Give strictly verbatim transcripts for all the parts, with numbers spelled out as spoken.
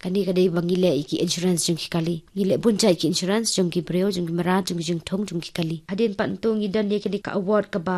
Kane ka dei ba ngi leh ïa ki insurance jong ki kali. Ngi leh bun jait ki insurance jong ki briew, jong ki mrad, jong ki jingthung, jong ki kali. Hadien pat ntu ngi don ïa kane ka award kaba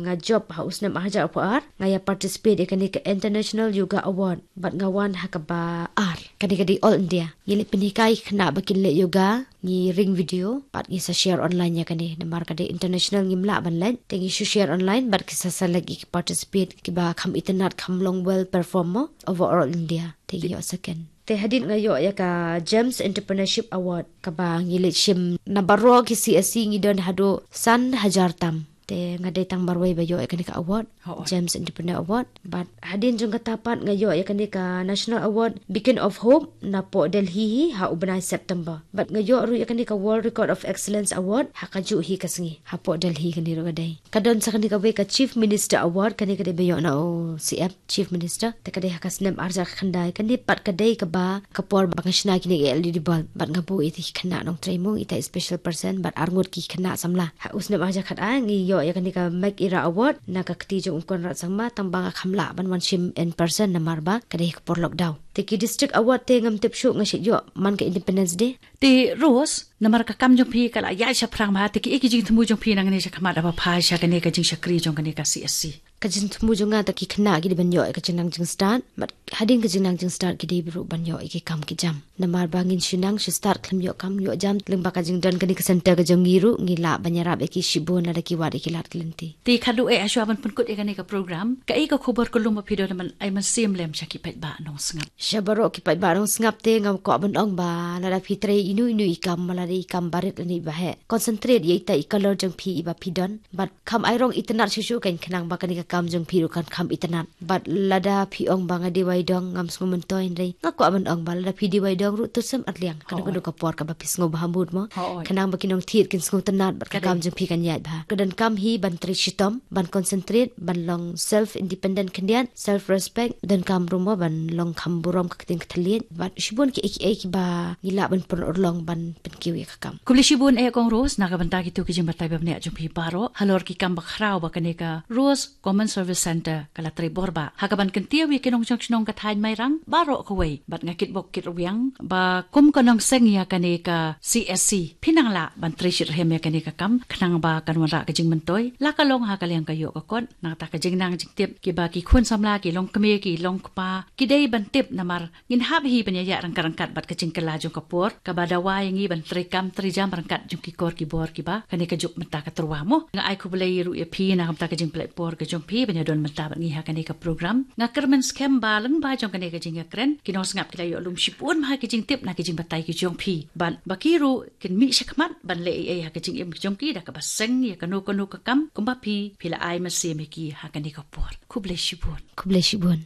nga jop ha u snem arhajar arphew ar, nga ïa participate ïa kane ka International Yoga Award. Bad nga wan ha kaba ar. Kane ka dei All India. Ngi leh pynhikai khynnah ba kin leh yoga, ngi ring video, bad ngi sa share online ïa kane. Namar ka dei international ngim lah ban leh. Te ngi shu share online, bad ki sa select ïa ki participate, kiba kham itynnad kham long well perform mo, over All India. Te ngi ïoh second. Te hadien nga ïoh ïa ka Gems Entrepreneurship Award, kaba ngi leit shim na baroh ki C S C ngi don haduh san hajar tam. Te nga dei tang marwei ba ïoh ïa kane ka award, Gems Entrepreneur Award. Bad hadien jong kata pat nga ïoh ïa kane ka National Award Beacon of Hope napoh Delhi hi ha u bnai September. Bad nga ïoh ruh ïa kane ka World Record of Excellence Award ha kajuh hi ka sngi hapoh Delhi kane ruh ka dei. Ka don sa kane kawei ka Chief Minister Award, kane ka dei ba ïoh na u C M, Chief Minister. Te ka dei ha ka snem arhajar khyndai, kane pat ka dei kaba ka por ba nga shna kine ki L E D bulb, bad nga buh ïa ki khynnah nongtrei mo, ita i special person, bad arngut ki khynnah samla. Ha u snem arhajar khatar ngi ïoh ïa kane ka Make Era Award na ka kti jong u Conrad Sangma, tang ba nga kham lah ban wan shim in person namar ba ka dei ka por lockdown. Te ki District Award te ngam tip shuh, nga shu ïoh man ka Independence Day. Te Rose, namar ka kam jong phi ka la ïaid shaphrang bha, te kiei ki jingthmu jong phi nangne shakhmat haba pha sha kane ka jingshakri jong kane ka C S C? Ka jingthmu jong nga, te ki khynnah ki dei ban ïoh ïa ka jingnang jingstad, bad hadien ka jingnang jingstad ki dei ruh ban ïoh ïa ki kam ki jam. Namar ba ngin shu nang shu stad khlem ïoh kam ïoh jam, lyngba ka jingdon kane ka center ka jong ngi ruh ngi lah ban ïarap ïa ki shibun lada ki wad ïa ki lad ki lynti. Te khadduh eh, shuwa ban pynkut ïa kane ka program, kaei ka khubor kylluid ba phi don ban ai mynsiem lem sha ki paidbah nongsngap? Sha baroh ki paidbah nongsngap te nga kwah ban ong ba lada phi trei ino ino i kam, lada i kam barit lane i baheh, concentrate ïa ita i color jong phi iba phi don. Bad kham ai rong itynnad shuh shuh kan, khnang ba kane ka kam jong phi ruh kan kham itynnad. Bad lada phi ong ba nga dei wai dong, ngam sngew myntoi, hynrei nga kwah ban ong ba lada phi dei wai dong ruh, to sem arliang. Kano kano ka por kaba phi sngew bha mood mo, khnang ba ki nongthied kin sngewtynnad bad ka kam jong phi kan ïaid bha. Ka donkam hi ban trei shitom, ban concentrate, ban long self independent khyndiat, self respect. Donkam ruh mo ban long kham burom ka ktien ka thylliej, bad shibun kiei kiei kiba ngi lah ban pynurlong ban pynkiew ïa ka kam. Khublei shibun eh Kong Rose na ka bynta kito ki jingbatai ba bniah jong phi baroh halor ki kam bakhraw ba kane ka Rose Common Service Center ka la trei bor bha ha kaban kyntiew ïa ki nongshong shnong ka thaiñ Mairang baroh kawei, bad nga kitbok kitrwiang ba kum ka nongseng ïa kane ka C S C phi nang lah ban trei shitrhem ïa kane ka kam, khnang ba kan wanrah ka jingmyntoi, la ka long ha ka liang ka ïoh ka kot. Nangta ka jingnang jingtip, kiba ki khun samla, ki longkmie, ki longkpa ki dei ban tip, namar ngin hap hi ban ïaid ryngkat ryngkat bad ka jingkylla jong ka por, kaba dawa ïa ngi ban trei kam trei jam ryngkat jong ki kor ki bor kiba kane ka juk mynta ka tyrwa mo. Nga ai khublei ruh ïa phi na ka bynta ka jingpynleit por ka jong phi ban ïadon mynta bad ngi ha kane ka program. Nga kyrmen skhem ba lyngba jong kane ka jingïakren, ki nongsngap ki la ïoh lum shibun ha ki jingtip na ki jingbatai ki jong phi, bad ba ki ruh kin mih shakhmat ban leh ei ei ha ka jingim ka jong ki da kaba seng ïa kano kano ka kam, kumba phi phi la ai mynsiem ïa ki ha kane ka por. Khublei shibun. Khublei shibun.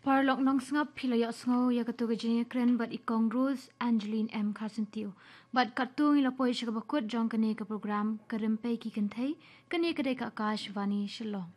Paralok nongsngap, phi la ïohsngew ïa kato ka jingïakren bad i Kong Rose Angeline M Kharsyntiew. Bad katto ngi la poi sha kaba kut jong kane ka program Ka Rympei ki Kynthei, kane ka dei ka Akashvani Shillong.